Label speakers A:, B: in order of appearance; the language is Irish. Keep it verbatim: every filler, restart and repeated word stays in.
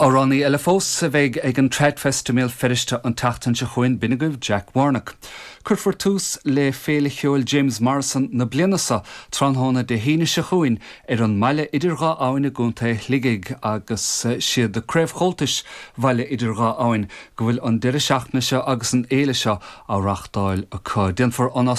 A: Amhránaí eile fós a bheidh ag an Tradfest i mBéal Feirste an tseachtain seo chugainn b'in agaibh Jack Warnock. Cuirfear tús le Féile Cheoil James Morrison na bliana seo tráthnóna Dé hAoine seo chugainn ar an mbaile idir dhá abhainn i gContae Shligigh agus siad de Craobh Chomhaltais Bhaile Idir Dhá Abhainn go bhfuil an deireadh seachtaine seo agus an fhéile seo á reáchtáil acu. Déanfar an